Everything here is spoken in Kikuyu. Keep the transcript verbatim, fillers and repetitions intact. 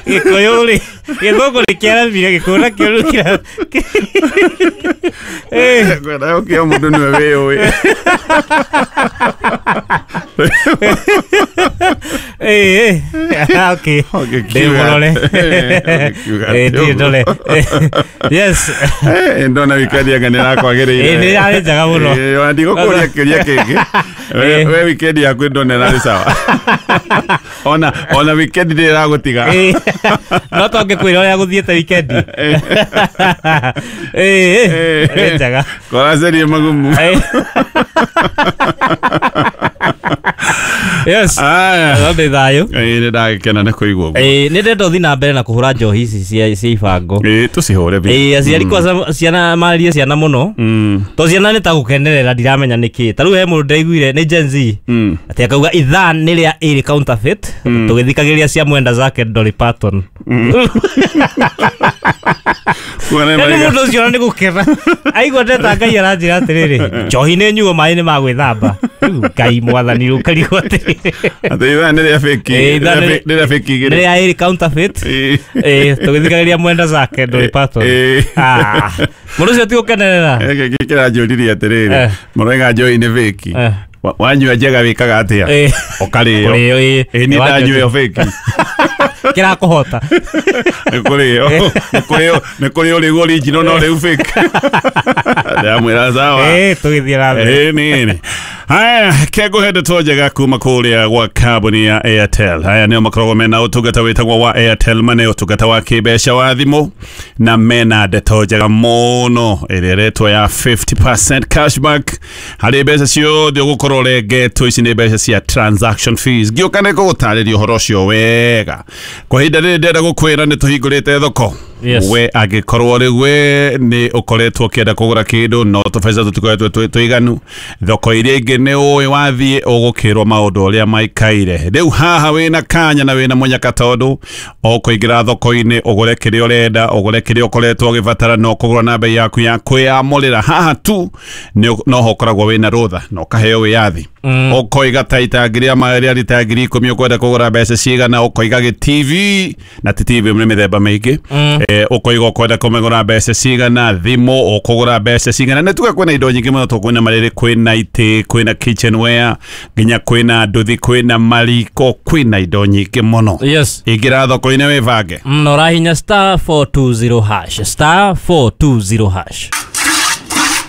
Gĩkũyũ rĩ, gĩthũngũ nĩ kĩaramire, gĩkũyũ nakĩo rĩu kĩra Eh. Ngwenda gũkĩa mũndũ nĩwe wĩyũĩ. Eh, eh. Okay. Ũngĩkiuga Ndĩ mũrore. Ũngĩkiuga Eh, atĩ ndirĩ ũguo. ndore. Yes. Eh, ndona wikendi anga nĩ ĩrakwagĩrĩire. Eh, nĩ yarĩ njega mũno. Eh, ona ndigũkũria kĩũria kĩngĩ. We Eh. we wikendi yaku ndona ĩrarĩ sawa. Ona ona wikendi ndĩrĩ ĩragũtiga. Eh, no to ngĩkwĩra ũrĩa gũthiĩte wikendi. Eh, eh, nĩ njega. Koracerie magumu. Eh. Yes. Aya. No ndĩ thayũ. Ĩĩ, nĩ ndagĩkena nĩ kũigua ũguo. Eh, nĩ ndenda ũthiĩ na mbere na kũhũra njohi ici cia cia ibango. Ĩĩ, tũcihũre biũ. Ĩĩ, aciari kwanza ciana marĩrie ciana mũno. Mm. To ciana nĩ ta gũkenerera ndiramenya nĩkĩ. Ta rĩu he mũndũ ndaiguire nĩ Gen Z. Mm. Atĩ akauga ithaa nĩ rĩa ĩrĩ counterfeit tũgĩthikagĩrĩria cia mwenda zake Dolly Parton. Kuona nĩ Yaani marĩga- mũndũ ũcio ona nĩ gũkena. Aigua ndeta Ngai aranjĩra atĩrĩrĩ, njohi nĩ nyuo maĩ nĩ ma gwĩthamba. Rĩu Ngai mwathani ũkarigwo atĩrĩrĩ. Atĩ ithaa nĩ rĩa fake. Ĩĩ, ithaa Nĩ nĩ- rĩa- nĩ rĩa fake Nĩ igĩrĩ. rĩa ĩrĩ counterfeit. Ĩĩ. Ĩĩ, tũgĩthikagĩrĩria mwenda zake Dolly Parton. Ĩĩ. Ah, mũndũ ũcio ti gũkenerera. Gĩkĩ kĩranjũririe atĩrĩrĩ, Eh. mũroiga njohi nĩ fake. Eh. Wa- Wanyua njega wĩkaga atĩa? Ĩĩ. Ũkarĩo. Kũrĩo, ĩĩ. Ĩĩ, niĩ ndanyua ĩyo fake. Kĩrakũhota. Nĩ kũrĩo. Nĩ kũrĩo, nĩ kũrĩo rĩu original no rĩu fake. Ndamwĩra sawa. Ĩĩ, tũgĩthiĩ na mbere. Ĩĩ, nĩ haya kengũhe ndeto njega kuma kũrĩa gwa kambuni ya Airtel. Haya nĩo makoragwo mena ũtungata wĩtagwo wa Airtel Money, ũtungata wa kĩmbeca wa thimũ, na mena ndeto njega mũno ĩrĩa ĩretwo ya fifty percent cashback harĩ mbeca ciothe ũgũkorwo ũrengetwo. Ici nĩ mbeca cia transaction fees. Ngĩũka nĩ ngũgũtarĩria ũhoro ũcio wega. Kwa ihinda rĩrĩ ndĩrenda gũkwĩra nĩ tũhingũrĩte thoko. Yes. We angĩkorwo rĩu we nĩ ũkoretwo ũkĩenda kũgũra kĩndũ no tũbeca tũtikoretwo twĩ tũiganu, thoko iria ingĩ nĩ ũĩ wathiĩ ũgũkĩrwo maũndũ ũrĩa maikaire. Rĩu haha wĩna kanya na wĩna mũnyaka, tondũ ũkũingĩra thoko-inĩ ũgũre kĩrĩa ũrenda, ũgũre kĩrĩa ũkoretwo ũgĩbatara, no kũgũra na bei yaku ya kwĩyamũrĩra. Haha tu nĩ noho ũkoragwo wĩna rũtha na ũkaheo wĩyathi. Ũkoiga ta itangi rĩa maĩ rĩa rita ngiri ikũmi ũkwenda kũgũra mbeca cigana, ũkoiga gĩ T V na ti T V nĩ mĩthemba mĩingĩ. Eh, ũkoiga ũkwenda kũmĩgũra mbeca cigana, thimũ ũkũgũra mbeca cigana. Nĩ tuge kwĩna indo nyingĩ mũno, tũkwĩna marĩrĩ, kwĩna itĩ, kwĩna kitchenware, nginya kwĩna nduthi, kwĩna mariko, kwĩna indo nyingĩ mũno. Yes. Ingĩra thoko-inĩ wĩbange. Mm, na ũrahinya star four two zero hash, star four two zero hash.